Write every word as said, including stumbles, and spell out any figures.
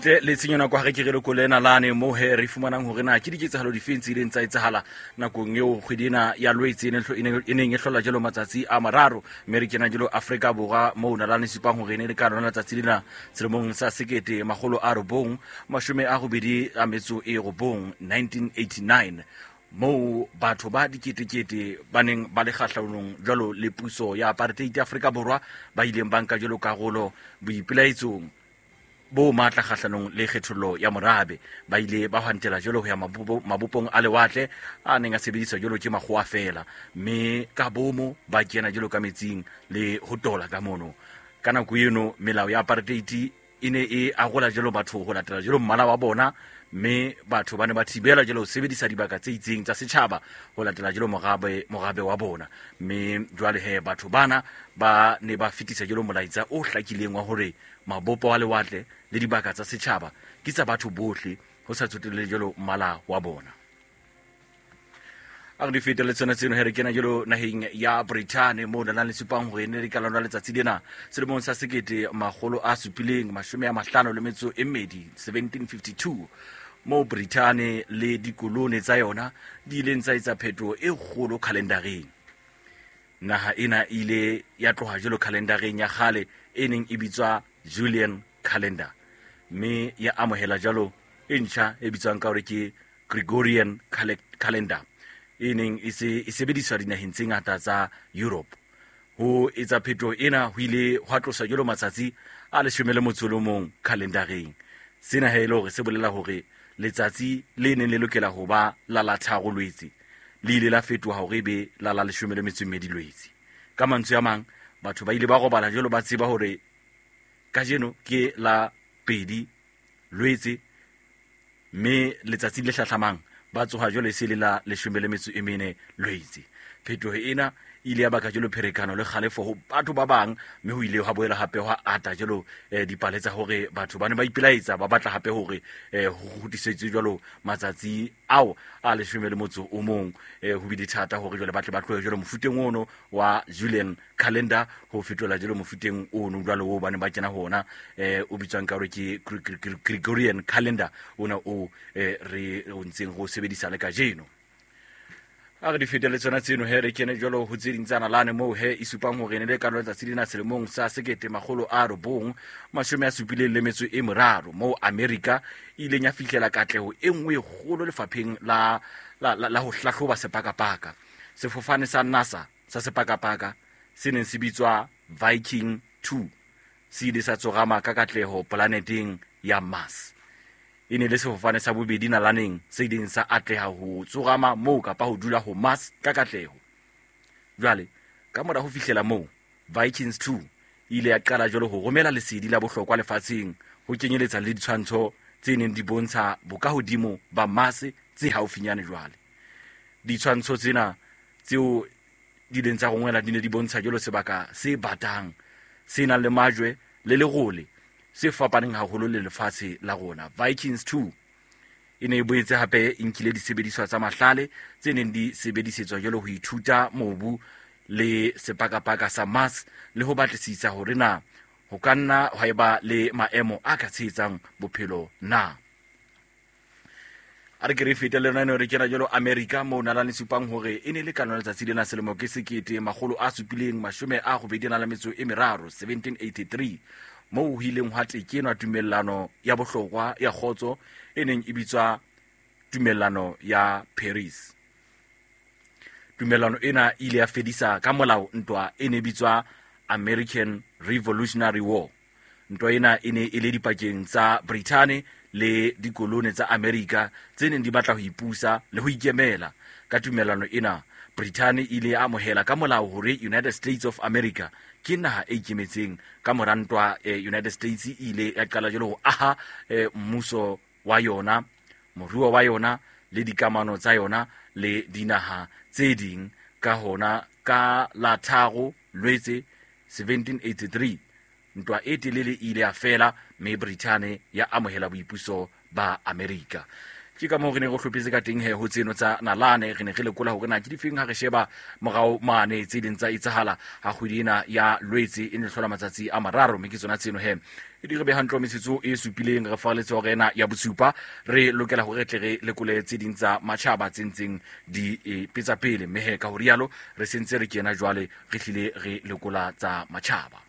Ntle le tshenyo nako ha re ke re lekole nalane mo he re fumanang hore na ke diketsahalo difeng tse ileng tsa etsahala nakong eo kgwedi ena ya Lwetse e ne hlo- e ne- e neng e hlola jalo matsatsi a mararo, mme re kena jalo Afrika Borwa moo nalane supang hore e ne le ka lona letsatsi lena selemong sa sekete makgolo a robong mashome a robedi a metso e robong nineteen eighty-nine, moo batho ba diketekete ba neng ba le kgahlanong jwalo le puso ya apartheid Afrika Borwa ba ileng ba nka jwalo karolo boipelaetsong bo matla kgahlanong le kgethollo ya morabe. Ba ile ba hwantela jwalo ho ya mabopo-, mabopong a lewatle a neng a sebediswa jwalo ke makgowa feela, mme ka bomo ba kena jwalo ka metsing le ho tola ka mono. Ka nako eno melao ya apartheid e ne e arola jwalo batho ho latela jwalo mmala wa bona, mme batho ba ne ba thibela jwalo ho sebedisa dibaka tse itseng tsa setjhaba ho latela jwalo morabe, morabe wa bona. Mme jwale he batho bana ba ne ba fetisa jwalo molaetsa o hlakileng wa hore mabopo a lewatle le dibaka tsa setjhaba ke tsa batho bohle ho sa tsotelle jwalo mmala wa bona. A re di fete le tsona tseno he re kena jwalo naheng ya Britain moo nalane le supang hore ne le ka lona letsatsi lena selemong sa sekete makgolo a supileng mashome a mahlano le metso e mmedi seventeen fifty-two, moo Britain le dikolone tsa yona di ileng tsa etsa phetoho e kgolo khalendareng. Naha ena e ile ya tloha jwalo khalendareng ya kgale e neng e bitswa Julian calendar, mme ya amohela jwalo e ntjha e bitswang ka hore ke Gregorian cale-, calendar e neng e se e sebediswa dinaheng tse ngata tsa Europe. Ho etsa phetoho ena ho ile hwa tlosa jwalo matsatsi a leshome le motso o le mong khalendareng. Sena ha e le hore se bolela hore letsatsi le neng le lokela ho ba la la tharo Lwetse le ile la fetoha hore ebe la la leshome le metso e mmedi Lwetse. Ka mantswe a mang, batho ba ile ba robala jwalo ba tseba hore kajeno ke la pedi Lwetse, mme letsatsi le hlahlamang ba tsoha jwalo e se le la leshome le metso e mene Lwetse. Phetoho ena e ile ya baka jwalo pherekano le kgalefo ho batho ba bang, mme ho ile hwa boela hape hwa ata jwalo, eh, dipale tsa hore batho ba ne ba ipelaetsa ba batla hape hore, eh, ho kgutlisetswe jwalo matsatsi ao a leshome le motso o mong. Eh, ho bile thata hore jwale ba tle ba tlohe jwalo mofuteng ono wa Julian calendar ho fetola jwalo mofuteng ono jwalo oo ba ne ba kena ho ona, eh, o bitswang ka hore ke Gre-, Gre-, Gre-, Gregorian calendar ona o, eh, re o ntseng re o sebedisa le kajeno. A re di fete le tsona tseno he re kene jwalo ho tse ding tsa nalane moo he e supang hore ne le ka letsatsi lena selemong sa sekete makgolo a robong mashome a supileng le metso e meraro, moo Amerika e ileng ya fihlela katleho e nngwe e kgolo lefapheng la, la, la, la ho hlahloba sepakapaka. Sefofane sa NASA sa sepakapaka se neng se bitswa Viking two se ile sa tsorama ka katleho polaneteng ya Mars. E ne le sefofane sa bobedi nalaneng se ileng sa atleha ho tsorama moo kapa ho dula ho Mars ka katleho. Jwale, ka mora ho fihlela moo, Vikings two e ile ya qala jwalo ho romela lesedi la bohlokwa lefatsheng ho kenyeletsa le ditshwantsho tse neng di bontsha bokahodimo ba Mars tse haufinyane jwale. Ditshwantsho tsena tseo di ileng tsa rongwela di ne di bontsha jwalo sebaka se batang, se nang le majwe le lerole se fapaneng haholo le lefatshe la rona. Vikings two e ne e boetse hape e nkile disebediswa tsa mahlale tse neng di sebedisetswa jwalo ho ithuta mobu le sepakapaka sa Mars le ho batlisisa hore na ho ka nna hwa eba le maemo a ka tshehetsang bophelo na. A re ke re fete le rona re kena jwalo Amerika moo nalane supang hore e ne le ka lona letsatsi lena selemo ke sekete makgolo a supileng mashome a robedi a nang le metso e meraro seventeen eighty-three, moo ho ileng hwa tekenwa tumellano ya bohlokwa ya kgotso e neng e bitswa tumellano ya Paris. Tumellano ena e ile ya fedisa ka molao ntwa e ne bitswa American Revolutionary War. Ntwa ena e ne e le dipakeng tsa Britain le dikolone tsa Amerika tse neng di batla ho ipusa le ho ikemela. Ka tumellano ena, Britain e ile ya amohela ka molao hore United States of America ke naha e ikemetseng. Ka mora ntwa, eh, United States e ile ya qala jwalo ho aha, eh, mmuso wa yona, moruo wa yona le dikamano tsa yona le dinaha tse ding. Ka hona ka la tharo Lwetse seventeen eighty-three, ntwa e telele e ile ya fela mme Britain ya amohela boipuso ba Amerika. Ke ka moo re ne re hlophetse ka teng he ho tseno tsa nalane, re ne re lekola hore na ke difeng ha re sheba morao mane tse ding tsa etsahala ha kgwedi ena ya Lwetse e ne hlola matsatsi a mararo, mme ke tsona tseno he. E di re be hantle metsotso e supileng re fareletse hora ena ya bosupa. Re lokela hore re tle re lekole tse ding tsa matjhaba tse ntseng di e petsa pele, mme he ka ho rialo re sentse re kena jwale re hlile re lekola tsa matjhaba.